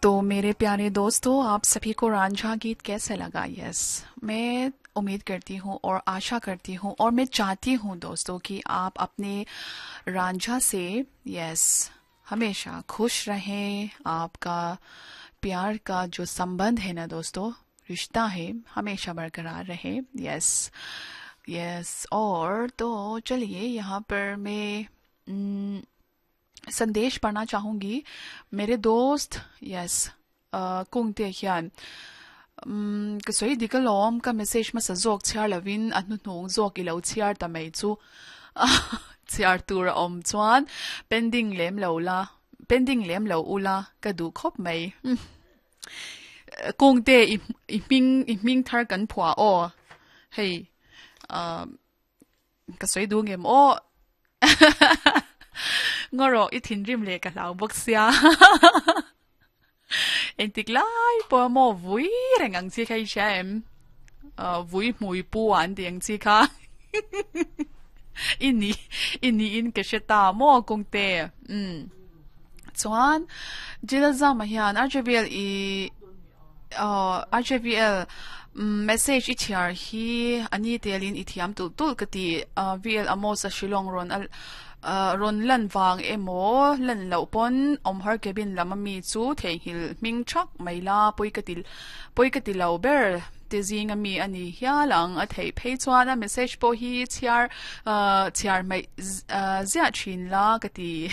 तो मेरे प्यारे दोस्तों, आप सभी को रांझा गीत कैसे लगा? यस, मैं उम्मीद करती हूँ और आशा करती हूँ और मैं चाहती हूँ दोस्तों कि आप अपने रांझा से, यस, हमेशा खुश रहें। आपका प्यार का जो संबंध है ना दोस्तों, रिश्ता है, हमेशा बरकरार रहे। यस यस, और तो चलिए यहाँ पर मैं संदेश पढ़ना चाहूंगी। मेरे दोस्त, yes, kung te hian ka soi dikalom ka message ma sa zawk chhiar lovin a hnuhnung zawk ilo chhiar ta mai chu chhiar tur a awm chuan pending lem lo la, pending lem lo ula ka duh khawp mai. Kungte i i hming i hming thar kan phuah aw hei ka sawi duh ngem aw ngaw rawh i thinrim leh ka hlau bawk sia engtik lai pawh maw vui reng ang chi kha i hria em vui hmui pu an tih ang chi kha i ni i niin ka hre ta maw kawngte umm chuan Jilazama hian RJVL i RJVL message i chhiar hi a ni telin i thiam tulh tulh ka ti. VL Amos a Shillong rawn rawn lan vang emaw lan loh pawn awmhar cabin lam ami chu theihnghilh hming thak mai la pawi ka ti pawi ka ti lo ber te zing ami a ni hial ang a theih phei chuan a message pawh hi chhiar chhiar hmaih ziah thin la ka ti.